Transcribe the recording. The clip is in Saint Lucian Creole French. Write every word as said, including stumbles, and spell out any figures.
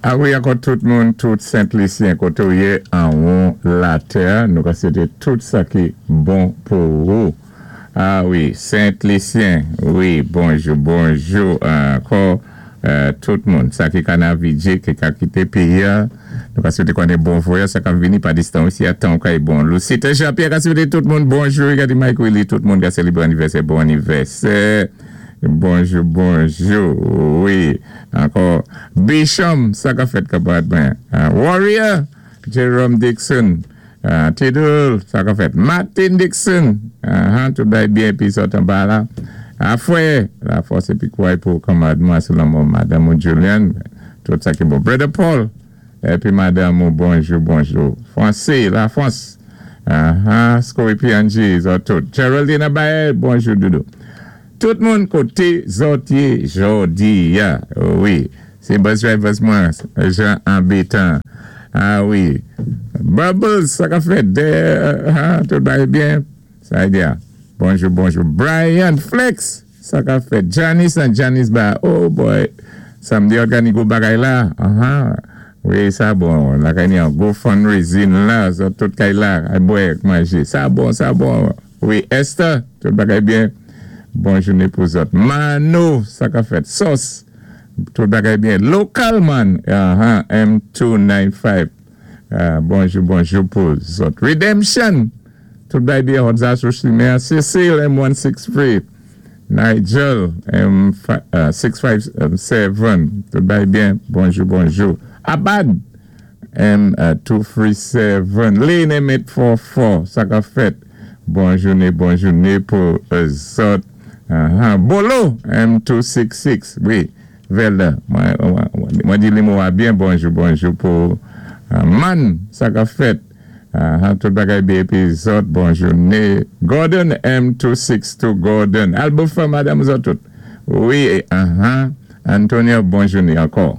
A wi, ankò tout moun, tout Sent-Lisyen koté ou yé an latè, nou ka swété tout sa ki bon pou ou. A wi, Sent-Lisyen, wi, bonjou, bonjou, ankò euh, tout moun. Sa ki Canarvidjé, ki ka kité péyi-a, nou ka swété konnen bon vwayaj, sa ka vini pa distan osi, atan kay bon. Lucita Jean-Pierre ka swété tout moun bonjou, gadé Mike Willy, tout moun ka sélébré anivèsè, bon anivèsè. Bonjou, bonjou, wi. Ankò, Bisham, sa ka fèt kapad ben. Uh, Warrior, Jerome Dixon, uh, Tidul, sa ka fèt. Martin Dixon, uh, tout bay byen pi sot an ba la. Afwe, la fòs épi kouway pou kanmarad mwen sou lanmò Madanm ou Julian, tout sa ki bon. Brother Paul, épi madanm ou bonjou, bonjou. Francis, la France, uh, uh, Scory P N G, zòt tout. Geraldine Abaye, bonjou doudou. Tout moun koté zòt yé jòdi a, wi. Sé bus drivers mwen, Jean Ambitan. A wi. Bubbles, sa ka fèt, de, ha, tout bay byen. Sa y a. Bonjou, bonjou. Brian Flex, sa ka fèt. Janice and Janice ba, oh boy. Samdi ògani gwo bagay la. Aha. Wi, sa bon. La kay ni an gwo fundraising la, so tout kay la, ay bwè, manjé. Sa bon, sa bon. Wi, Esther, tout bagay byen. Bon jouné pou zòt. Mano, sa ka fèt. Sos, tout bagay byen. Local man, aha, M two nine five. Uh, bonjou, bonjou pou zòt. Redemption, tout bagay byen. Hotza Souchlimer. Cecile, M one six three. Nigel, M six five seven. Tout bagay byen. Bonjou, bonjou. Abad, M two three seven. Lane, M eight four four. Sa ka fèt. Bon jouné, bon jouné pou zòt. Uh-huh. Bolo, M two six six, wi, Velda, mwen di li mwen byen bonjou, bonjou pou uh, Man, sa ka fèt, uh, tout bagay byen épi zòt, bon jouné. Gordon, M two six two Gordon, Albofa, madanm zòt tout. Wi, uh-huh. Antonio, bon jouné ankò.